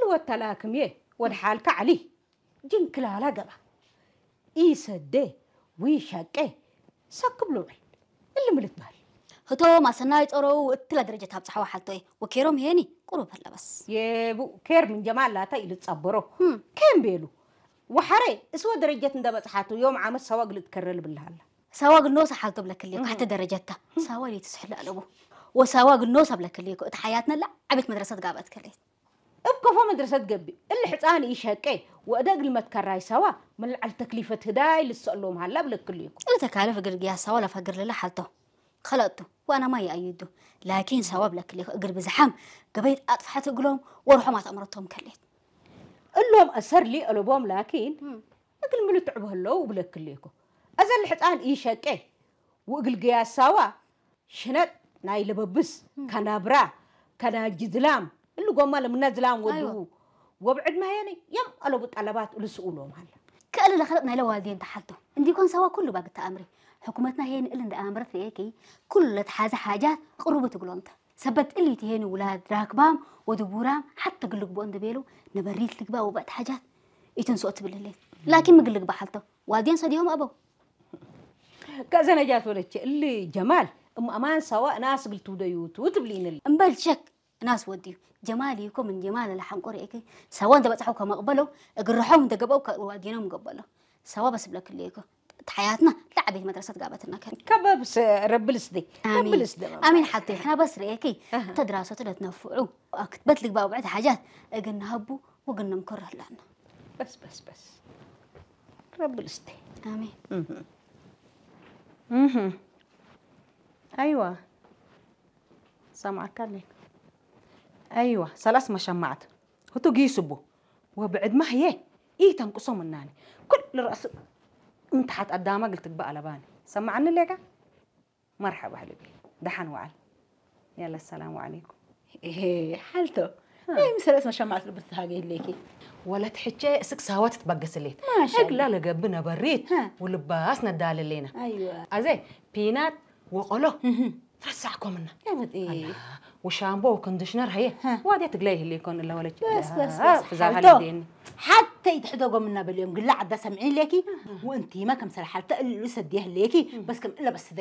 ወተላክም እየ ወደ ሓልካ ዓሊ ጅንክላላ ገባ ኢሰደ ዊሻቄ ሰክብ ልውዕል እልምልት በሃል። ህቶ ማሰናይ ጸረው እትላ ደረጃ ታብጽሓዋ ሓልቶ እየ ወኬሮም ሄኒ ቁሩብ ኣለበስ። የቡ ኬር ምን ጀማል ላታ ኢሉ ጸበሮ ከም ቤሉ ወሓረ እስወ ደረጀት እንደበጽሓቱ ዮም ዓመት ሰዋ ግልጥ ከረል ብልሃላ። ሳዋ ግል ኖሳ ሓልቶ ብለክልየኮ ሓተ ደረጀታ ሳዋ ሌት ስሕል ኣለቡ ወሳዋ ግል ኖሳ ብለክልየኮ እቲ ሓያትነላ ዓቤት መድረሰት ጋበት ከሌት እብ ከፎ መድረሰት ገቢ እሊ ሕፃን ኢሸቄ ወእደ እግል መትከራይ ሰዋ ምን ለዐል ተክሊፈት ህዳይ ልሰእሎም ሀላ ብለክልየኮ። እሊ ተካለፍ እግል ግያስ ሰዋ ለፈግር ልለ ሓልቶ ከለእቱ ወአናማ ይአይዱ ላኪን ሰዋ ብለክልየኮ እግል ብዝሓም ገበይት አጥፍሐት እግሎም ወርሖም አትአምረቶም ከሌት። እሎም አሰር ሊአለቦም ላኪን እግል ምልትዕቡ ህለው ብለክልየኮ። አዘ እሊ ሕፃን ኢሸቄ ወእግል ግያስ ሰዋ ሽነጥ ናይ ለበብስ ከናብራ ከናጅ ዝላም እሊ ጎማ ለምና ዝላም ወድዉ ወብዕድ ማየኒ የም አለቡ ጠለባት እሉ ስኡሎም ሀለ። ከእሊ ለኸለጥ ናይለ ዋልዴን ተሓልቶ እንዲኮን ሰዋ ኩሉ ባግ ተአምሪ። ሕኩመትና ሄን እል እንደ አምረት ርኤኪ ኩሉ ለተሓዘ ሓጃት ቅሩቡ ትግሎምተ። ሰበት እሊ ትሄኒ ውላድ ራክባም ወድቡራም ሓተ ግልግቦ እንደ ቤሉ ነበሪት ልግባ ወበእት ሓጃት ኢትንስኦ ትብል ህሌት። ላኪን ምግል ልግባ ሓልቶ ዋልዴን ሰዲሆም አበው። ከዘነጃት ወለቼ እሊ ጀማል እም አማን ሰዋ እናስ ግልትውደዩቱ ትብሊንል። እምበል ሸክ እናስ ወድዩ ጀማል ይኮ ምን ጀማል ለሓንቆ ርኤኪ ሰዋ እንተበጽሐው ከመቅበለው እግርሖም እንተገበው ከዋዲኖም ገበለው ሰዋ በስብለክልየኮ ተሓያትና ለዓቤት መድረሰት ጋበትና ከ ከበብስ ረብልስ ደ አሚን ረብልስ ደ አሚን ሓብተይ ሕና በስ ርኤኪ ተድራሰቱ ለትነፍዑ ክትበት ልግባ ውዕት ሓጃት እግን ንሃቡ ወግን ንምኮር ህላና በስ በስ በስ ረብልስ ደ አሚን እህ አይዋ ሰማዕካ ኣለይ አይዋ ሰላስ መሸማዕት ህቱ ጊስቡ ወብዕድማ ህየ ኢተንቅሶ ምናኒ ኩሉ ራእሱ እንተሓት ኣዳማ ግልትግባ ኣለባኒ ሰማዕኒ ሌጋ መርሐባ ህልቢ ደሓን ወዓል ያለ ሰላሙ ዓለይኩም ሓልቶ ናይ ምሰለስ መሸማዕት ልብስ ተሃገ ይለኪ ወለት ሕቸ እስክ ሳዋ ትትበገስሌት ማሻአላህ። እግላ ለገብእ ነበሪት ሃ። ውልባስ ነዳልሌና ኣይዋ ኣዘ ፒናት ወቆሎ ትረሳዕኮምና ያመጤ ወሻምቦ ወኮንዲሽነር ሀየ ሃ። ዋዴ ትግላይ ይህል ይኮን እለ ወለች በስ በስ በስ ብዛ ሓልቶ ሀልዴኒ ሓተይ ትሕደጎም እናበልዮም ግላ ዓዳ ሰምዒ ሌኪ ወእንቲማ ከም ሰለ ሓልተ እሉ ሰዲየ ህሌኪ በስ ከም እለ በስ